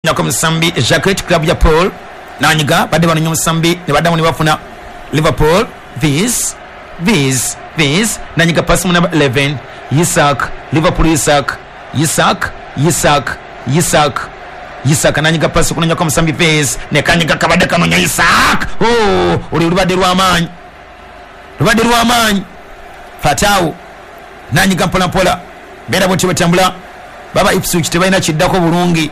Nako musambi Jacquet club ya Paul nanyiga badde banonya omusambi ne baddamu ne bafuna Liverpool this this this nanyiga pasi mu number 11 Isak Liverpool Isak Isak Isak Isak Isak nanyiga pasi kunonya kwa musambi Vez ne kanyiga kabadde kanonya Isak. Oh, oli lubadde lw'amaanyi, lubadde lw'amaanyi. Fatau nanyiga mpola mpola beera bwetyo batambula baba Ipswich tebalina kiddako bulungi.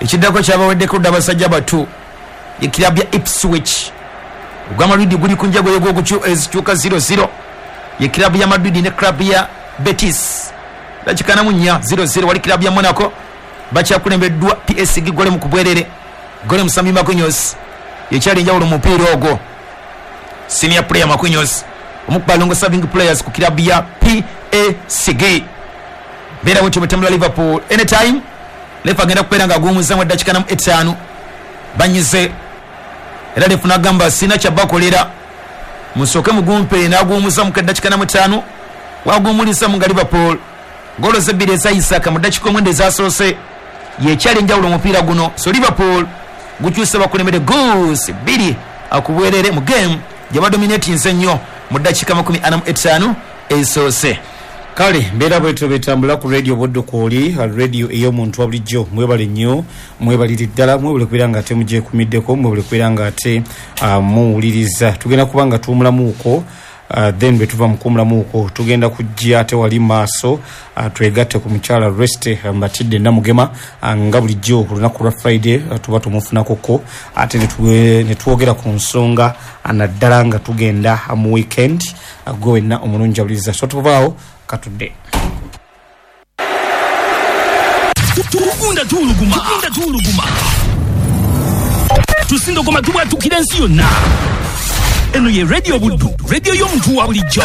Ekiddako kyabaweddeko dda abasajja batu ekirabu ya Ipswich. Ogwa Madrid guli ku njago ezikyuka 0-0, ye club ya Madrid ne club ya Betis dakika 44 0-0. Wali club ya Monaco bakyakulembeddwa PSG gole mu kubwerere gole musambi Marquinhos yekyali enjawulo mu mupiira ogwo. Senior player Marquinhos omukuba long serving players ku club ya PSG. Beera bwetyo bwetambula Liverpool anytime lefa agenda kubeera nga aguwumuzaamu eddakiika 5 banyize era lefu n'agamba sina kyabakolera musooke mugumpe n'aguwumuzaamu eddakiika 5 waguwumulizamu nga Liverpool golo zebbiri eza Isaka mu ddakiika 9 ezasoose yekyali enjawulo omupiira guno. So Liverpool gukyuse bakulembere goals 2 akubwerere mu game gye badominatinze ennyo mu ddakiika 45 ezisoose. Kale mbeera bwetyo betambula ku radio Buddu kwoli radio ey'omuntu wa bulijjo. Mwebale nnyo, mwebalire ddala, mwebale kubeera nga ate mugyekumiddeko, mwebale kubeera nga ate muwuliriza. Tugenda kuba nga tuwumulamuuko, then bwe tuva mu kuwumulamuuko tugenda kujja ate wali maaso, twegatte ku mukyala Reste Matidde Namugema, nga bulijjo ku lunaku lwa Friday tuba tumufunakoko ate ne twogera ku nsonga, naddala nga tugenda mu weekend. Gwe wenna omulungi awuliriza, so tuvaawo katudde. Tugunda tuwuluguma, tugunda tuwuluguma, tusindogoma tubwatukira ensi yonna. Eno ye Radio Buddu, radio y'omuntu wa bulijjo.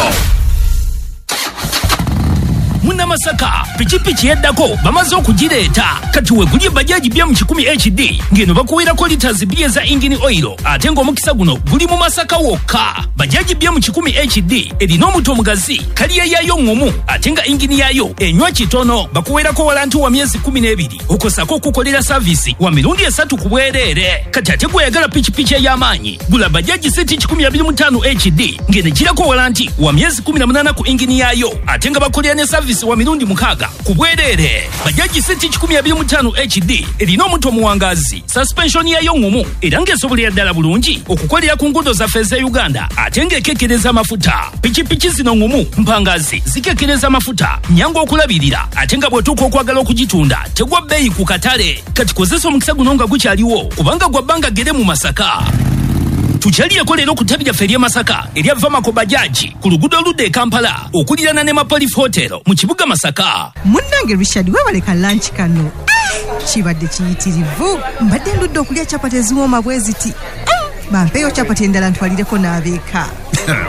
Munnamasaka pikipiki yeddako bamaze okugireeta kati wegulye bajaji bya mu 100 HD ng'eno bakuweerako litas 2 eza engine oil ate ng'omukisa guno guli mu Masaka wokka. Bajaji bya mu 100 HD erina omuto omugazi, kaliya yaayo ŋŋumu ate nga engine yaayo enywa kitono. Bakuweerako walanti wa myezi 12 okosako okukolera saavisi wa mirundi 3 ku bwereere. Kati ate gweyagala pikipiki ey'amaanyi gula bajaji seti 125 HD ng'eno egirako walanti wa myezi 18 ku engine yaayo ate nga bakolera ne saavisi wa mirundi 6 ku bwereere. Bajaji seti 125 HD erina omuto omuwangazi, suspension yayo ŋŋumu era ng'esobolera ddala bulungi okukolera ku nguudo zaffe ez'e Uganda ate ng'ekekkereza amafuta. Pikipiki zino ŋŋumu, mpangazi, zikekkereza amafuta, nnyangu okulabirira ate nga bw'otuuka okwagala okugitunda tegwa bbeeyi ku katale. Kati kozesa omukisa guno nga gukyaliwo kubanga gwa bbanga ggere mu Masaka. Tukyalireko leero ku ttabi lyaffe ery'e Masaka erya Vamako Bajaji ku luguudo oludda e Kampala okuliraana ne Mapolif Hotel mu kibuga Masaka. Munnange Richard, weebale ka lunch kano. Kibadde kiyitirivu, mbadde ndudde okulya capati eziwooma bwe ziti. Bampeeyo capati endala ntwalireko n'abeeka.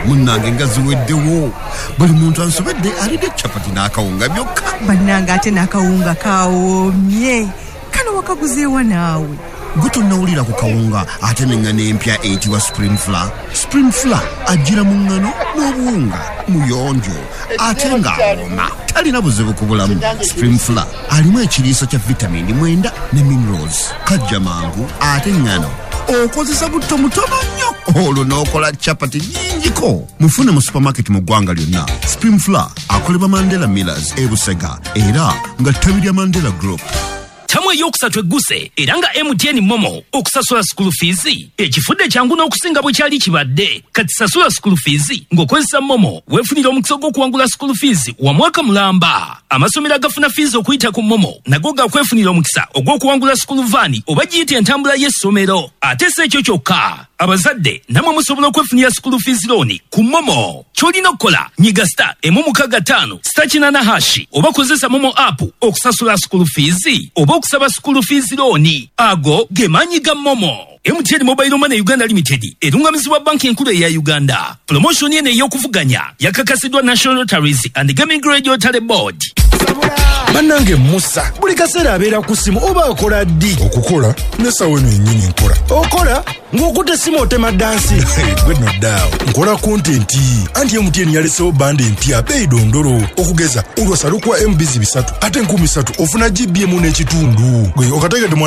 Munnange nga ziweddewo, buli muntu ansobedde alidde capati n'akawunga byokka. Bannange ate n'akawunga kawoomye, kano wakaguzeewa naawe? Gwe tonnawulira ku kawunga ate n'eŋŋano empya eyitibwa Spring Flour? Spring Flour ajjira mu ŋŋano n'obuwunga, muyonjo ate ng'awooma, talina buzibu ku bulamu. Spring Flour alimu ekiriisa kya vitamini 9 ne minerals, kajja mangu ate ŋŋano okozesa butto mutono nnyo olwo n'okola capati nnyingiko. Mufune mu supermarket mu ggwanga lyonna. Spring Flour akolebwa Mandela Millers e Busega era nga ttabi lya Mandela Group. Tamu eyokusatu egguse era nga MTN Momo okusasula school fees ekifudde kyangu n'okusinga bwe kyali kibadde. Kati sasula school fees ng'okozesa Momo weefunira omukisa gw'okuwangula school fees wa mwaka mulamba. Amasomero agafuna fees okuyita ku Momo nago gakwefunira omukisa ogw'okuwangula school van oba giyite entambula y'essomero. Ate si ekyo kyokka, abazadde nammwe musobola okwefunira school fees loan ku Momo. Ky'olina okukola nyiga *165 *8# oba kozesa Momo app okusasula school fees oba okusaba school fees loan. Ago ge maanyi ga Momo. MTN Mobile Money Uganda Limited erungamizibwa banki enkulu eya Uganda. Promotion eno ey'okuvuganya yakakasiddwa National Lotteries and Gaming Regulatory Board. Bannange, Musa buli kaseera abeera ku ssimu, oba akola ddi? Okukola nesawa eno yennyini nkola. Okola ng'okutta essimu otema dansi? Gwe nno ddaawo, nkola content. Anti MTN yalesewo bundle empya beeyi dondolo. Okugeza olwasa lukuwa MBs 3 ate 3000 ofuna GB emu n'ekitundu. Gwe okategedde?